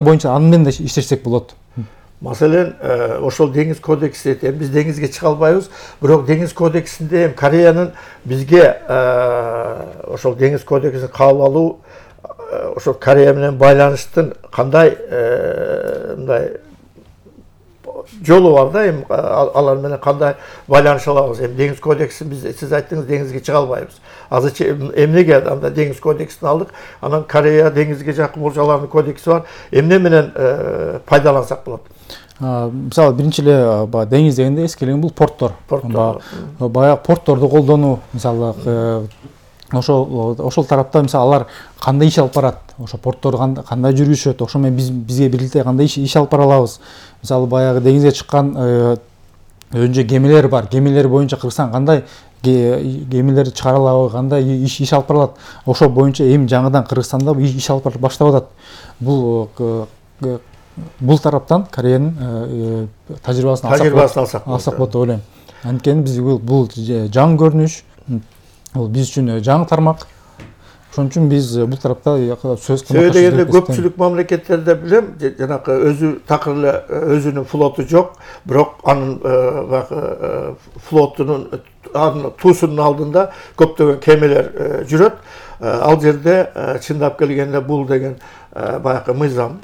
боюнча аны менен да иштешсек болот. Маселен, ошол деңиз кодекси биз деңизге чыга албайбыз, бирок деңиз кодексинде Кореянын бизге ошол деңиз кодексин кабыл алуу ошол Корея менен байланыштын кандай мындай жолу бар да, эми алар менен кандай байланыша алабыз. Эми деңиз кодексин биз сиз айттыңыз деңизге чыга албайбыз. Азырча эмнеге анда деңиз кодексин алдык, анан Корея деңизге жакын болчу алардын кодекси бар. Эмне менен пайдалансак болот? Мисалы биринчи эле деңиз дегенде эскилеген бул порттор. Баягы портторду колдонуу, мисалы ошол тарапта мисалы алар кандай иш алып барат, ошо порттор кандай жүрүшөт, ошо менен бизге бирдикте кандай иш алып бара алабыз. Мисалы баягы деңизге чыккан өзүнчө гемилер бар. Гемилер боюнча Кыргызстан кандай гемилерди чыгара алабы, кандай иш алып барат. Ошо боюнча эми жаңыдан Кыргызстанда иш алып баштап атат. Бул тараптан Кореянын тажрыйбасын алсак болот деп ойлойм. Анткени биз бул жаңы көрүнүш, бул биз үчүн жаңы тармак. Ошон үчүн биз бул тарапта сөз кылмак. Сөйлөгөндө көпчүлүк мамлекеттерде билем, жанакы өзү такыр эле өзүнүн флоту жок, бирок анын флотунун туусунун алдында көптөгөн кемелер жүрөт. Ал жерде чындап келгенде бул деген баягы мыйзам.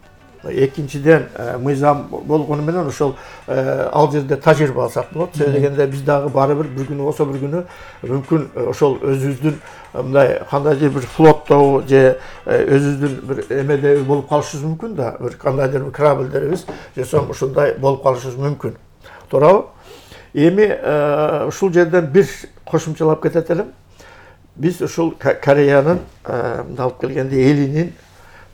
Экинчиден мыйзам болгону менен ошол ал жерде тажрыйба алсак болот. Сөйлөгөндө биз дагы бары бир күнү болсо бир күнү мүмкүн ошол өзүбүздүн мындай кандайдыр бир флоттоо же өзүбүздүн бир эмеде болуп калышыбыз мүмкүн да, бир кандайдыр бир корабльдерибиз же сом ушундай болуп калышыбыз мүмкүн. Туурабы? Эми ушул жерден бир кошумчалап кетет элем. Биз ушул Кореянын алып келгенде элинин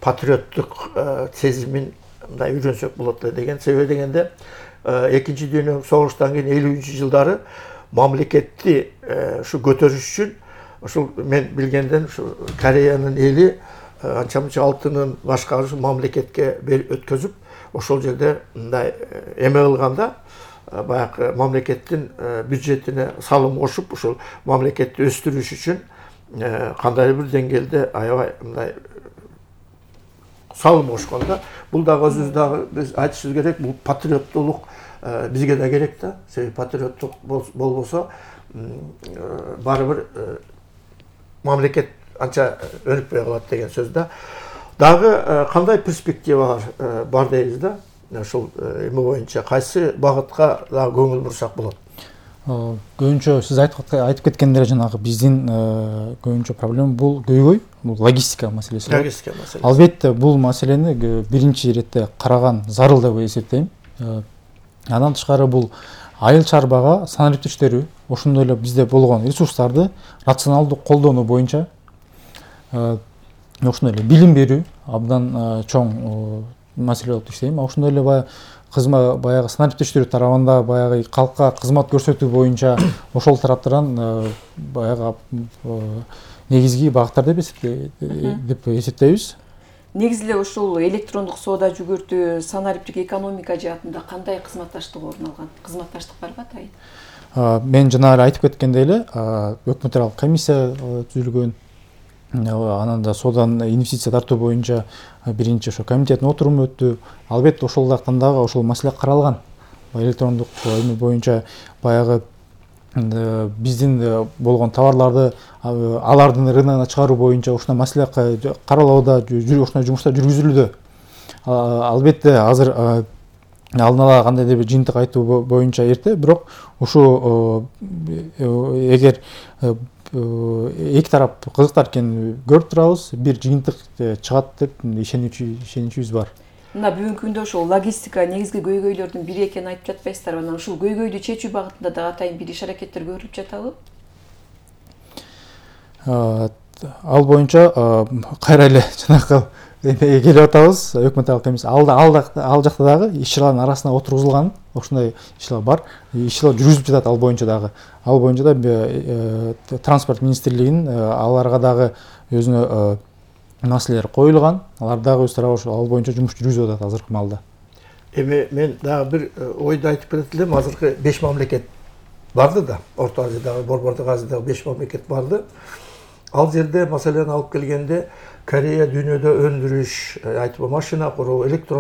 патриоттук сезимин мындай үйрөнсөк болот деген. Себеби дегенде экинчи дүйнөлүк согуштан кийин 50-жылдары мамлекетти ушу көтөрүш үчүн ушул мен билгенден ушу Кореянын эли анча-мынча алтынын башка мамлекетке өткөзүп, ошол жерде мындай эме кылганда баягы мамлекеттин бюджетине салым кошуп, ушул мамлекетти өстүрүш үчүн кандайдыр бир деңгээлде аябай мындай салым кошкон да. Бул дагы өзүбүз дагы биз айтышыбыз керек, бул патриоттулук бизге да керек да. Себеби патриоттук болбосо бары бир мамлекет анча өнүкпөй калат деген сөз да. Дагы кандай перспектива бар дейбиз да. Ошол эме боюнча кайсы багытка дагы көңүл бурсак болот? Көбүнчө сиз айтып кеткендер жанагы биздин көбүнчө проблема бул көйгөй, бул логистика маселеси. Логистика маселеси. Албетте бул маселени биринчи иретте караган зарыл деп эсептейм. Андан тышкары бул айыл чарбага санариптештирүү, ошондой эле бизде болгон ресурстарды рационалдуу колдонуу боюнча ошондой эле билим берүү абдан чоң маселе болуп иштейм. Ошондой эле баягы санариптештирүү тарабында баягы калкка кызмат көрсөтүү боюнча ошол тараптардан баягы негизги багыттар деп эсептейбиз. Негизи эле ушул электрондук соода жүгүртүү, санариптик экономика жаатында кандай кызматташтык орун алган? Кызматташтык барбы атайын? Мен жана эле айтып кеткендей эле өкмөт аралык комиссия түзүлгөн. Анан да соодан инвестиция тартуу боюнча биринчи ошо комитеттин отуруму өттү. Албетте ошол жактан дагы ошол маселе каралган. Электрондук эме боюнча баягы биздин болгон товарларды алардын рыногуна чыгаруу боюнча ушундай маселе каралууда, ушундай жумуштар жүргүзүлүүдө. Албетте азыр алдын ала кандайдыр бир жыйынтык айтуу боюнча эрте, бирок ушу эгер эки тарап кызыктар экенин көрүп турабыз, бир жыйынтык чыгат деп ишеничибиз бар. Мына бүгүнкү күндө ошол логистика негизги көйгөйлөрдүн бири экенин айтып жатпайсыздарбы? Анан ушул көйгөйдү чечүү багытында дагы атайын бир иш-аракеттер көрүлүп жатабы? Ал боюнча кайра эле жанакы эмеге келип атабыз. Өкмөт аралык комиссия ал жакта дагы иш-чаралардын арасына отургузулган ошондой иш-чаралар бар. Иш-чаралар жүргүзүлүп жатат ал боюнча дагы. Ал боюнча да транспорт министрлигинин аларга дагы өзүнө маселелер коюлган. Алар дагы өз тарабы ал боюнча жумуш жүргүзүп атат азыркы маалда. Эми мен дагы бир ойду айтып кетет элем. Азыркы 5 мамлекет барды да. Орто Азиядагы, Борбордук Азиядагы 5 мамлекет барды. Ал жерде маселени алып келгенде Корея дүйнөдө өндүрүш, айтпа машина куруу,